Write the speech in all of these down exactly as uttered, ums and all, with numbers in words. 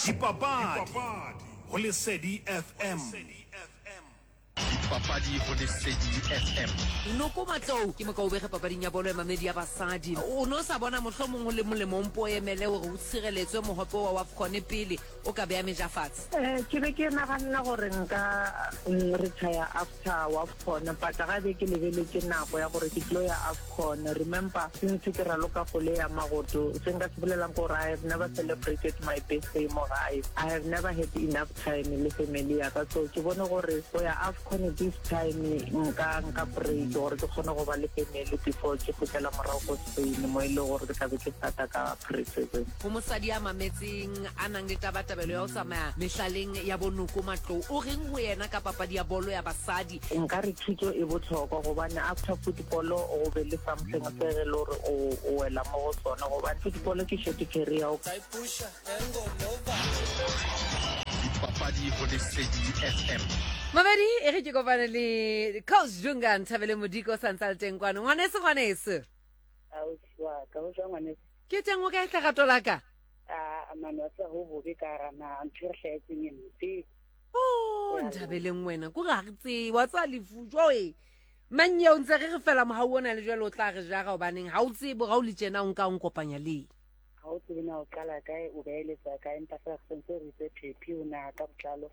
Dipapadi go Lesedi F M. Dipapadi go Lesedi F M. Noko Matlou ke mokaubege papading ya bolo ya mamedi ya basadi. O ne o sa bona mohlomong ho le molemo o mpo o emele hore o tshireletswe mohope wa WAFCON pele o ka beya meja fatshe? um ke be ke naganna gore nka mm, retire after WAFCON, but ga be ke lebeletse nako ya gore ke tlo ya AFCON. Remember, since ke raloka kgole ya magoto, se nka se bolelang gore I have never celebrated my birthday mo gae. I have never had enough time le family ya ka, so ke bone gore go ya AFCON this time nka nka break gore ke kgone go ba le family before ke kgutlela morago ko Spain, mo e le gore ke tlabe ke starta ka pre-season. Ho mosadi a mametseng a nang le tabatabelo ya ho tsamaya mehlaleng ya boNoko Matlou, o reng ho yena ka papadi ya bolo ya basadi? Nka re thuto e botlhokwa, gobane after football o be le something se ge le gore o o wela mo go sona, gobane football ke short career. Dipapadi go Lesedi F M. Mabedi e re ke kopane le Coach Dunga Nthabele Modiko, sa ntse a le teng kwano. Ngwaneso, ngwaneso. Ausi wa ka, ho jwang, ngwaneso? Ke teng, o kae, tlerato la ka? A mane, wa tseba, ho bobe ka hara naha, ntho e re hlahetseng e mpe. O Nthabeleng, wena ko re ha re tsebe wa tseba lefu joe mang eo ntse re re fela mohau ona le jwale o tla re jara, hobaneng ha o tsebe ga o le tjena o nka o nkopanya le Ha o tsebe na o qala kae, o beeletsa kae, empa fela re sentse re itse phephi o naha ka botlalo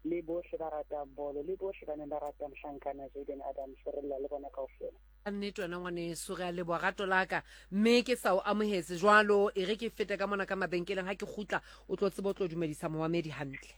le bohle ba ratang bolo le bohle ba neng ba rata mohlankana Jaden Adams, re lla le bona kaofela. Ka nnete wena ngwaneso, re a leboha, rato la ka, mme ke sa o amohetse jwalo. E re ke fete ka mona ka mabenkeleng, ha ke kgutla o tlo tseba o tlo dumedisa momamedi hantle.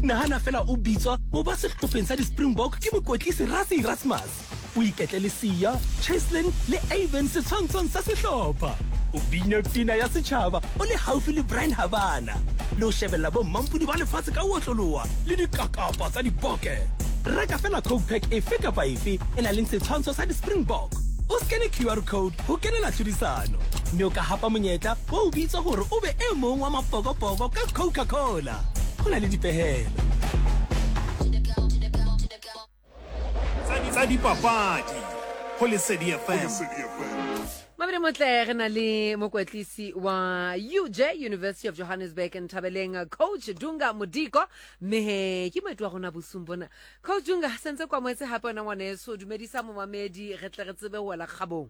Nahana fela o bitswa ho ba sehlopheng sa di-Springbok ke mokwetlisi Rassie Erasmus, o iketle le Siya, Cheslin le Avan setshwantshong sa sehlopha, o bina pina ya setjhaba o le haufi le Bryan Habana, le ho shebella bommampodi ba lefatshe ka ho otloloha le dikakapa tsa diboke. Reka fela Coke pack efe kapa efe e nang le setshwantsho sa di-Springbok, o scan Q R code ho kenela tlhodisano, mme o ka hapa monyetla wa ho bitswa hore o be e mong wa mapokopoko ka Coca-Cola. Ho na le dipehelo. Tsa dipapadi go Lesedi F M. Mabedi motle, re na le mokwetlisi wa U J, University of Johannesburg, Nthabeleng Coach Dunga Modiko, mme he ke moeti wa rona bosung bona. Coach Dunga, sentse kwa moetse hape wena ngwaneso, dumedisa momamedi re tle re tsebe ho wela kgabong.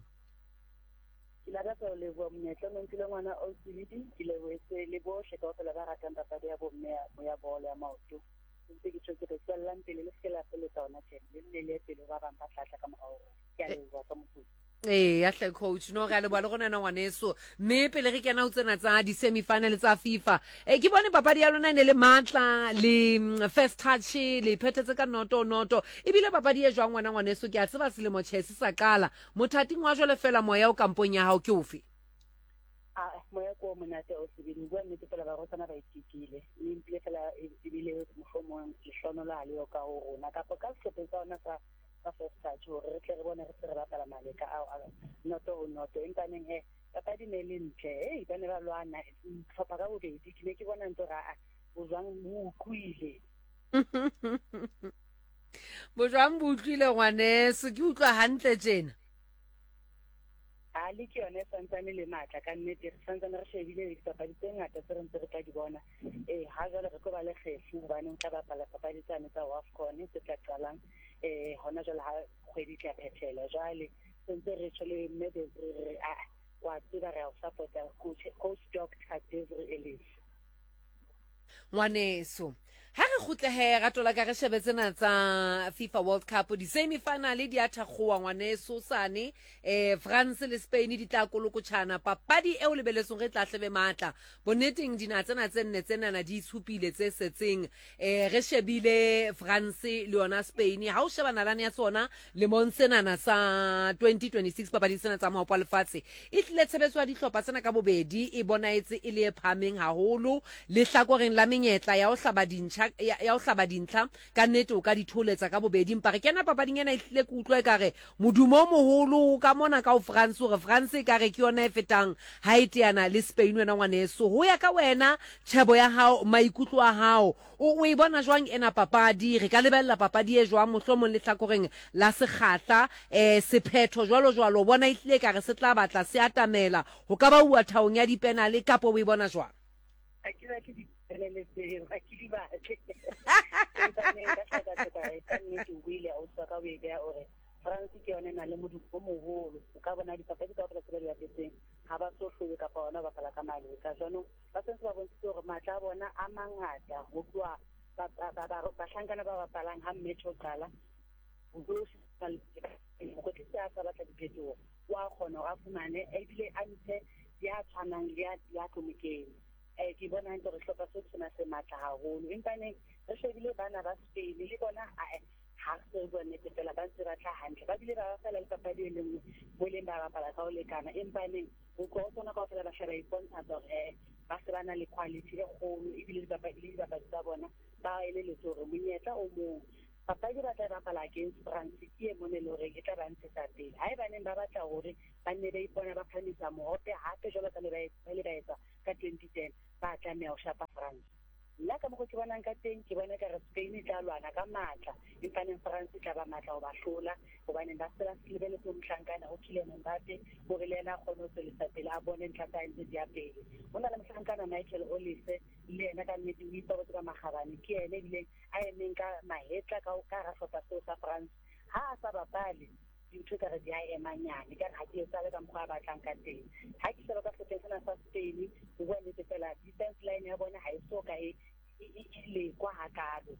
Ke lakatsa ho leboha monyetla o mphile ngwana ausi, ke lebohetse le bohle kaofela ba ratang papadi ya bomme ya ya bolo ya maoto. Ntse ke tjho ke re tswellang pele, le seke la feletsa hona tjena, le nne le ye pele ho ba bang ba tla tla ka morao ho rona. Ke a leboha ka moputso. Ee, ya hle coach, no re a leboha le rona ena ngwaneso. Mme pele re kena ho tsena tsa di-semi-final tsa FIFA, e ke bone papadi ya lona e ne le matla le mm, First Touch le phethetse ka noto noto. Ebile papadi e jwang, wena ngwaneso? Ke a tseba selemo tjhe se sa qala mothating wa jwale, fela moya o kampong ya hao ke ofe? Ah, moya ke o monate o sebele. Ho bua nnete fela, barwetsana ba itekile, mme mpile fela e ebile mohlomong lehlohonolo ha le yo ka ho rona kapa ka sehlopheng sa rona sa sa First Touch hore re tle re bone re se re bapala maleka ao a noto ho noto. Empaneng he, papadi ne le ntle. Hei, ba ne ba lwana tlhopha ka bobedi. Ke ne ke bona ntse hore aa, bojwang bo utlwile. Bojwang bo utlwile, ngwaneso, ke utlwa hantle tjena. A le ke yone e santsane le matla ka nnete. Re santsane re shebile le dipapadi tse ngata tse re ntse re tla di bona. Ee, ha jwale re tlo ba le kgefu, hobane ho tla bapala papadi tsane tsa WAFCON tse tla qalang um hona jwale ha kgwedi e tla phethela. Jwale sentse re tjho le mme Desiree, re re aa, wa tseba re a o support-a, coach coach Doctor Desiree Ellis. Ngwaneso, ha re kgutlehe, rato la ka, re shebe tsena tsa FIFA World Cup, di-semi-final di a thakgowa, ngwaneso. Sane eh France le Spain di tla kolokotjhana, papadi eo lebeletsong re tla hlebe matla. Bonneteng dinaha tsena tse nne tsenana di itshupile tse setseng. eh re shebile France le yona Spain, ha o sheba nalane ya tsona lemong senana sa twenty twenty-six papading tsena tsa maopo a lefatshe, e tlile tshebetso ya dihlopha tsena ka bobedi e bonaetse e le e phahameng haholo lehlakoreng la menyetla ya ho hlaba dintjha, ya ya ho hlaba dintlha. Ka nnete o ka di tholetsa ka bobedi, empa re kena papading ena e tlile ke utlwa ekare modumo o moholo ka mona ka ho France, hore France e kare ke yona e fetang ha e teana le Spain. Wena ngwaneso, ho ya ka wena, tjhebo ya hao, maikutlo a hao, o o e bona jwang ena papadi? Re ka lebella papadi e jwang mohlomong lehlakoreng la sekgahla, eh sephetho jwalo jwalo? O bona e tlile kare se tla batla se atamela ho ka ba uwa thaong ya dipenale, kapa o e bona jwang? ke batle di-channel tseo, ha ke di batle. Empa neng ka hlaka-hlaka ka nnete o buile ausi wa ka o e beha hore France ke yona e nang le modumo o moholo. O ka bona dipapadi kaofela tse ba di bapetseng ha ba so hlolwe kapa hona ho bapala ka maleka. Jwanong ba sentse ba bontshitse hore matla a bona a mangata ho tloha bahlankana ba bapalang ha match o qala. Mokwetlisi ha sa batla diphetoho wa kgona hore a fumane ebile a ntshe ya tshwanang le ya tlo mo kenya. Ke bona hantle hore sehlopha seo ke sona se matla haholo. Empa neng re shebile bana ba Spain le bona ha re se re bua nnete fela ba ntse ba tla hantle. Ba bile ba bapala le papadi e le nngwe mo leng ba bapala ka ho lekana. Empa neng ho tloha ho tsona kaofela ba hle ba ipontshatsa hore ba se ba na le quality e kgolo ebile le dipapadi tsa bona ba elelletswe hore monyetla o mong papadi ba tla bapala against France ke e mone le hore e tla ba ntshetsa pele. Haebaneng ba batla hore ba nne ba ipona ba phahamisa mohope hape jwalo ka le ba le ba etsa ka twenty ten ba tlameha ho shapa France. Nna ka mokgo ke bonang ka teng ke bona ekare Spain e tla lwana ka matla empaneng France e tla ba matla ho ba hlola hobaneng ba se ba lebeletse mohlankana ho Kylian Mbappe hore le yena a kgone ho tswellisa pele a bone ntlha tsa hae ntse di ya pele. Ho na le mohlankana Michael Olise le yena ka nnete o ipabotse ka makgabane ke yena ebileng a emeng ka mahetla ka ka hara sehlopha seo sa France. Ha a sa bapale dintho ekare di a ema nyane ekare ha di etsahale ka mokgwa a batlang ka teng. Ha ke sheba ka sehlopheng sena sa Spain ho bua nnete fela defense line ya bona ha e so ka e lekwa hakalo.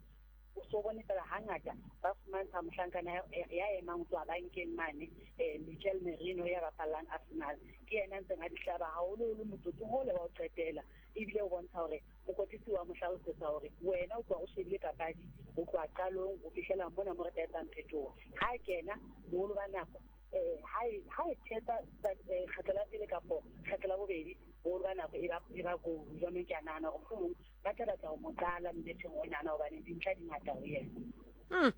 O so bone fela hangata ba fumantsha mohlankana ya emang ho tswa bankeng mane Mikel Merino ya bapallang Arsenal ke yena a ntseng a di hlaba haholoholo motsotsong ole wa ho qetela ebile o bontsha hore mokwetlisi wa mo hlalosetsa hore wena o tloha o shebile papadi ho tloha qalong ho fihlela mona mo re tla etsang phetoho. Ha kena boholo ba nako ha e thetsa kgetlo la pele kapo kgetlo la bobedi boholo ba nako e ba e ba goal. Jwanong ke a nahana hore mohlomong ba tla batla ho mo qala mmeteng onana hobane dintlha di ngata ho yena. Hmm.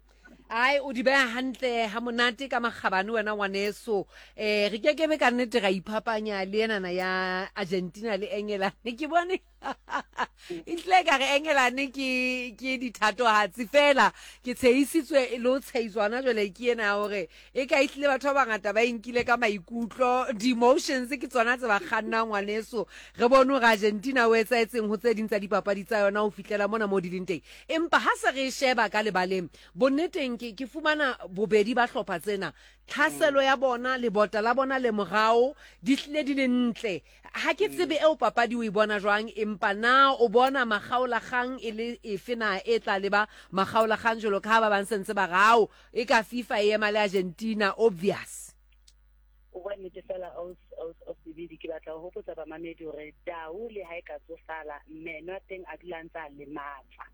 Ai o di beha hantle ha monate ka makgabane wena ngwaneso. Eh re kekebe ka nnete ra iphapanya le enana ya Argentina le England. Ke bone e tle ka re England ke ke dithatohatsi fela ke tshehisitswe le ho tshehiswana jwale ke ena ya hore e ka ehlile batho ba bangata ba inkile ka maikutlo di-emotions ke tsona tse ba kgannang ngwaneso. Re bone hore Argentina o etsahetseng ho tse ding tsa dipapadi tsa yona ho fihlela mona mo di leng teng. Empa ha se re sheba ka lebaleng bonneteng ke ke fumana bobedi ba hlopha tsena tlhaselo ya bona lebota la bona le morao di hlile di le ntle. Ha ke tsebe eo papadi o e bona jwang empa na o bona makgaolakgang e le efe na e tla leba makgaolakgang jwalo ka ha ba bang sentse ba rao e ka FIFA e ema le Argentina obvious. O bua nnete fela ausi ke batla ho hopotsa bamamedi hore tau le ha e ka tsofala meno a teng a dula ntse a le matla.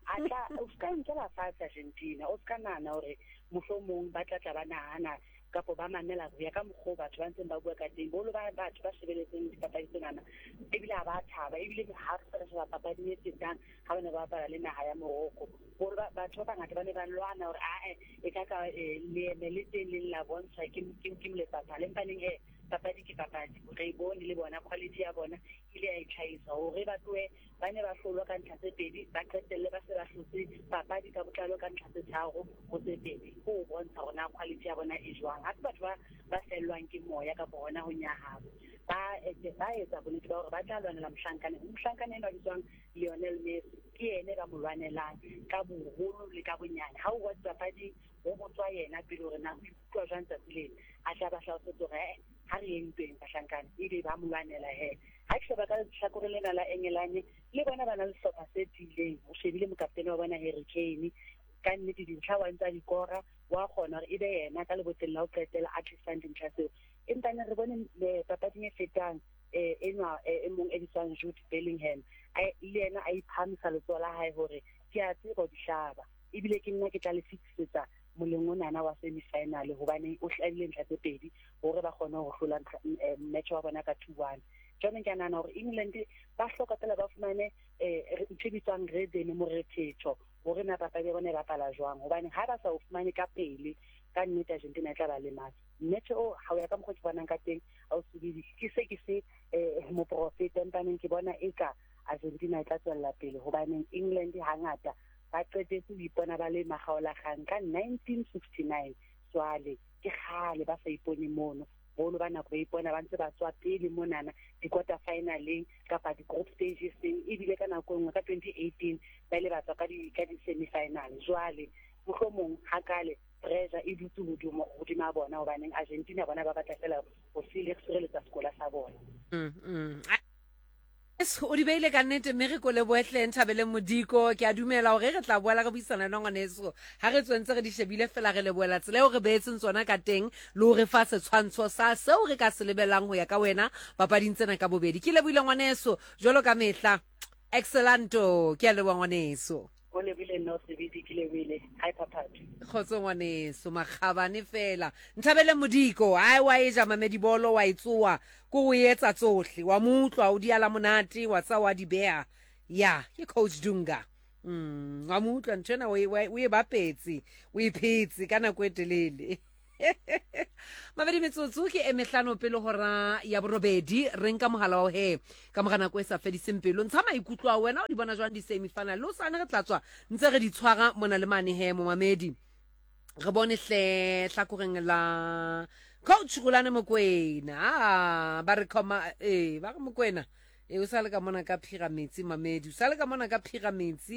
A tla o ska nkela fatshe Argentina o ska nahana hore mohlomong ba tla tla ba nahana kapo ba mamela ho ya ka mokgwa batho ba ntseng ba bua ka teng. Boholo ba batho ba shebeletseng dipapadi tsenana ebile ha ba thaba ebile ha re sheba papadi e fetang ha ba ne ba bapala le naha ya Morocco. Boholo ba batho ba bangata ba ne ba lwana hore ae e ka ka leeme le teng le la bontshwa ke ke moletsaphala. Empaneng he papadi ke papadi re bone le bona quality ya bona ile ya itlhahisa hore ba tlohe ba ne ba hlolwa ka ntlha tse pedi ba qetelle ba se ba hlotse papadi ka botlalo ka ntlha tse tharo ho tse pedi ho bontsha hore na quality ya bona e jwang. Ha se batho ba ba fellwang ke moya kapa hona ho nyahama ba ba etsa bonnete ba hore ba tla lwanela mohlankana. Mohlankana enwa bitswang Lionel Messi ke yena ba mo lwanelang ka boholo le ka bonyane. Ha o wa dipapading ho botswa yena pele hore na o ikutlwa jwang tsatsi lena a tla ba hlalosetsa hore ha re yeng ntweng bahlankana ebe ba mo lwanela he. Ha ke sheba ka lehlakoreng lena la England le bona ba na le sehlopha se tiileng. O shebile mokaptene wa bona Harry Kane ka nnete dintlha wa ntsa dikora wa kgona hore ebe yena ka leboteng la ho qetela a tlisang dintlha tseo. Empa ne re bone papading e fetang enwa e mong e bitswang Jude Bellingham le yena a iphahamisa letsoho la hae hore ke a tseba ho di hlaba ebile ke nna ke tla le fetisetsa moleng onana wa semi-final hobane o hlabile ntlha tse pedi hore ba kgone ho hlola match wa bona ka two one. Jwanong ke a nahana hore England ba hloka fela ba fumane ntho e bitswang rhythm morethetho hore na papadi ya bona e bapala jwang hobane ha ba sa o fumane ka pele ka nnete Argentina e tla ba lematsa. Match o ha o ya ka mokgwa ke bonang ka teng ausi ke se ke se moprofeta empaneng ke bona eka Argentina e tla tswella pele hobaneng England hangata ba qetetse ho ipona ba le makgaolakgang ka nineteen sixty-nine jwale ke kgale ba sa ipone mono. Boholo ba nako ba ipona ba ntse ba tswa pele monana di-quarter finaleng kapa di-group stageseng. Ebile ka nako e nngwe ka twenty eighteen ba ile ba tswa ka di ka di-semi-final. Jwale mohlomong hakale pressure e dutse hodimo hodima bona, hobaneng Argentina bona ba batla fela ho sireletsa sekola sa bona. Mm, mm. O di beile ka nnete, mme re ko lebohe Nthabeleng Modiko. Ke a dumela hore re tla boela re buisana le ngwaneso ha re tswentse re di shebile fela, re lebohela tsela eo re beetseng tsona ka teng le ho re fa setshwantsho sa seo re ka se lebellang ho ya ka wena papading tsena ka bobedi. Ke lebohile ngwaneso jwalo ka mehla, excellanto. Ke a leboha ngwaneso. O lebile nna o sebedi, ke lebile. Hi Phaphathu. Kgotso ngwaneso, makgabane fela. Nthabeleng Modiko, ai wa e ja mamedi bolo, wa e tsoa ko o etsa tsohle, wa mo utlwa o di ala monate, wa tsa wa di beha. Ya, ke coach Dunga. Mm, wa mo utlwa ntho ena o e o e bapetse, o e phetse ka nako e telele. Mabedi metsotso ke e mehlano pele hora ya borobedi. Re nka mohala wa he ka mora nako e sa fediseng pelo. Ntsha maikutlo a wena, o di bona jwang di-semi-final? Le hosane re tla tswa ntse re di tshwara mona le mane he momamedi. Re bone hle hlakoreng la coach Rulani Mokwena. Ah, ba re khoma eh ba re Mokwena e o sale ka mona ka Pyramids mamedi, o sale ka mona ka Pyramids.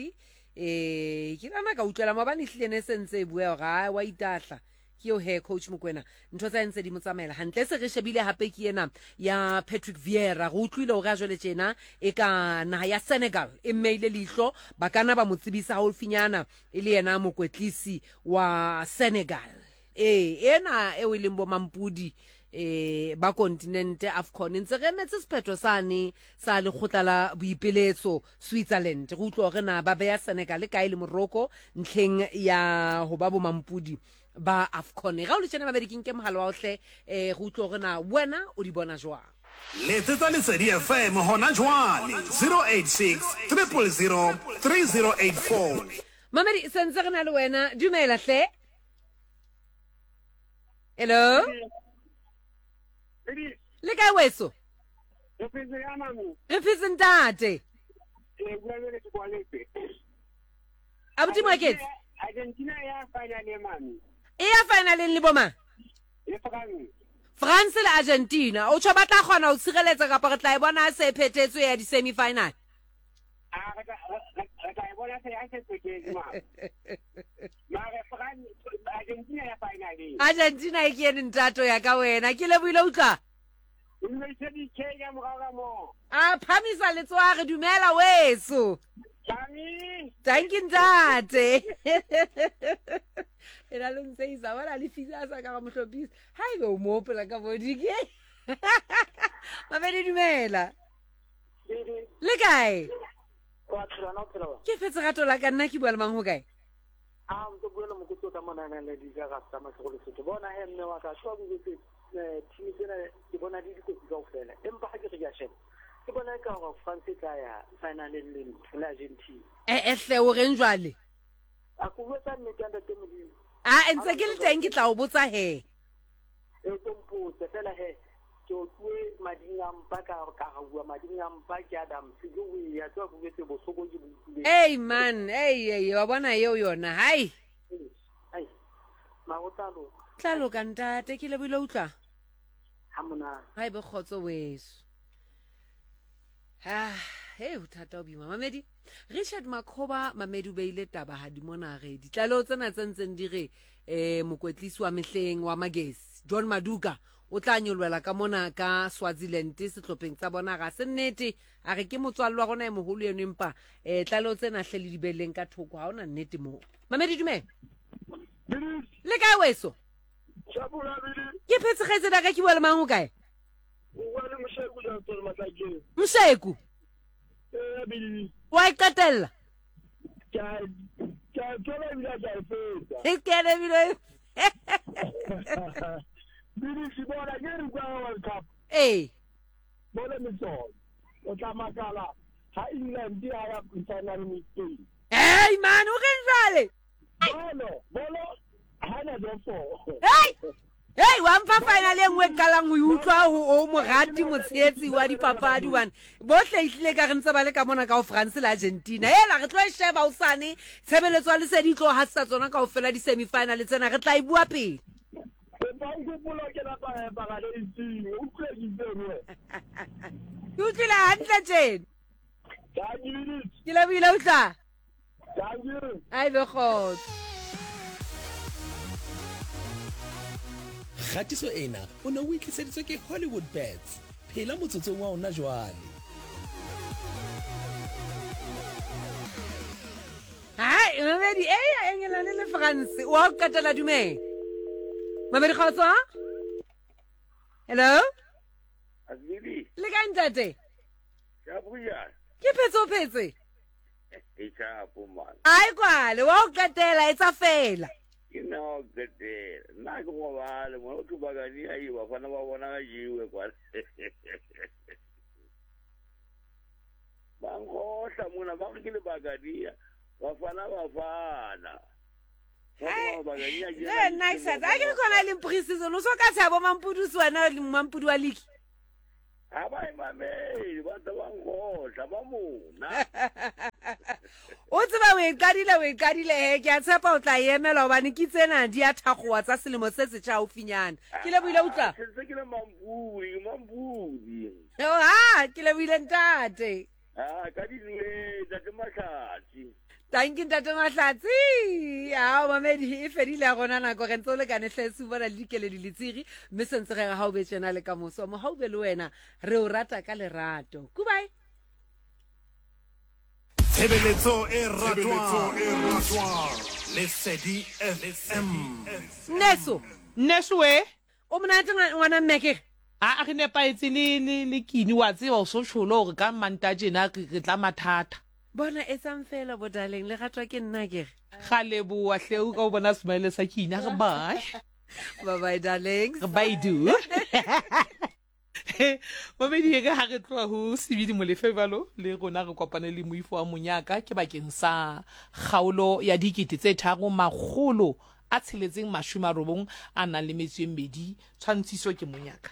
Eh ke nana ka utlwela mabane hlile ne sentse e bua hore ha wa itahla. Ke eo he coach Mokwena, ntho tsa ntse di mo tsamaela hantle. Se re shebile hape ke ena ya Patrick Vieira. Re utlwile hore a jwale tjena e ka naha ya Senegal e mmeile leihlo, ba kana ba mo tsebisa haufinyana e le yena mokwetlisi wa Senegal. Eh ena eo e leng bo mampudi eh ba kontinente AFCON. Ntse re emetse sephetho sane sa lekgotla la boipiletso Switzerland. Re utlwa hore na ba beya Senegal kae le Morocco ntlheng ya ho ba bo mampudi ba AFCON. Ga o le tjena babedi, ke nke mohala wa ohle eh go utlwa hore na wena o di bona jwang. Letsetsa Lesedi F M hona jwale zero eight six triple zero three zero eight four. Mamedi, sentse re na le wena. Dumela hle. Hello. Le kae weso? Re phetse ntate. Abuti Moeketsi. Argentina ya finale mami. E ya finaleng le boma? Le France. France le Argentina. O tjho ba tla kgona ho tshireletsa kapa re tla e bona se phethetswe ya di-semi final? Ah, re tla e bona se ya se phethetswe mama. Mare France Argentina ya finaleng. Argentina e ke ene ntato ya ka wena. Ke lebohile utlwa. A phamisa letsoho re dumela weso. Thank you ntate. Ena lo ntse isa bona le fisa sa ka mo hlophisa. Ha ebe o mo opela ka body ke. Mabedi dumela. Le kae? Wa phela na o phela wa? Ke fetse rato la ka nna ke bua le mang ho kae? Ah, ntse bua le mokotsi ka mona na le di ka tsa masego le Sotho. Bona he mme wa ka tshwa bobetse eh team tsena ke bona di dikotsi kaofela. Empa ha ke re ke a sheba. Ke bona ka hore France tla ya finaleng le le Argentina. Eh eh hle o reng jwale? A ko botsa nnete ntate Modimo. Ah, ntse ke le teng ke tla o botsa he. E o mpotse fela he. Ke o tue mading a mpa ka ka bua mading a mpa ke Adam se ke o ya tswa bobetse bohloko ke bo utlwile. Hey man, hey hey wa bona eo yona. Hai. Hai. Mago tla loka. Tla loka ntate ke lebohile utlwa. Ha mona. Hai be kgotso weso. Ah, hey ho thata o bima mamedi. Richard Makhoba mamedi o beile taba ha di mona re ditlaleho tsena tse ntseng di re eh mokwetlisi wa mehleng wa Magesi John Maduka o tla nyolwela ka mona ka Swaziland sehlopheng tsa bona. Ga se nnete, a re ke motswallo wa rona e moholo eno, empa eh tlaleho tsena hle le dibeleng ka thoko, ha ona nnete moo. Mamedi dumela. Le kae weso? Ke phetse kgaitsedi ya ka, ke bua le mang ho kae? Mosheku. Wa e qetella? E kene ebile. Ee. Hey man, o reng jwale? Hey! Hey, wa mpha final e nngwe qalang ho utlwa ho o morati motshehetsi wa dipapadi one. Bohle ehlile ka re ntse ba le ka mona ka ho France le Argentina. Hela re tlo e sheba hosane tshebeletso ya Lesedi tlo hasisa tsona kaofela di-semi final tsena, re tla e bua pele. kopa o nkgopole ho kena paradeising. O utlwile ke itseng wena? Ke utlwile hantle tjena. Thank you. Ke lebohile utlwa. Thank you. A ebe kgotso. Kgatiso ena o ne o itliseditswe ke Hollywood Bets. Phela motsotsong wa ona jwale. Hai, mamedi, eya Engelane le France. Wa o qetela dumela. Mamedi kgotso? Hello? Azili. Le kae ntate? Ka buya. Ke phetse o phetse? E chapo man. Ai kwale, wa o qetela e tsa fela. Ke nna wa o qetela. Nna ke robale, mona o thubakane a e bafana ba bona ka jewe kwale. Ba nkgohla mona ba re ke lebakania. Bafana bafana. Hey, nice. A ke re khona le pre-season o so ka tshabo Mampudu wena le Mampudu wa league. Ha ba e mamele, ba tla ba nkgohla ba mona. O tseba o e qadile o e qadile he ke a tshepa o tla emela hobane ke tsena di a thakgowa tsa selemo se setjha haufinyana. Ke lebohile utlwa. Ke ntse ke le Mampudi, Mampudi. Oh ha, ke lebohile ntate. Ah, ka dinwe ntate Mahlatsi. Thank you ntate Mahlatsi. Ah, mamedi e fedile ya rona nako re ntse o lekane hle se bona le dikeledi le tsiri mme sentse re ha o be tjena le ka moso. Mohau be le wena re o rata ka lerato. Goodbye. Tshebeletso e ratwang Lesedi F M. Neso, Neso we. O monate ngwana mme ke. A re nepahetse le le le kini wa tseba o so tsholo hore ka Manta tjena re tla mathata. Bona e tsang fela bo darling le ratwa ke nna ke re. Ga leboa hle o ka o bona smile sa kini re bye. Bye bye darlings. Bye do. Mamedi e ka ha re tloha ho Sebidi Molefe jwalo le rona re kopane le moifo wa monyaka ke bakeng sa kgaolo ya dikete tse tharo makgolo a tsheletseng mashome a robong a nang le metso e mmedi tshwantshiso ke monyaka.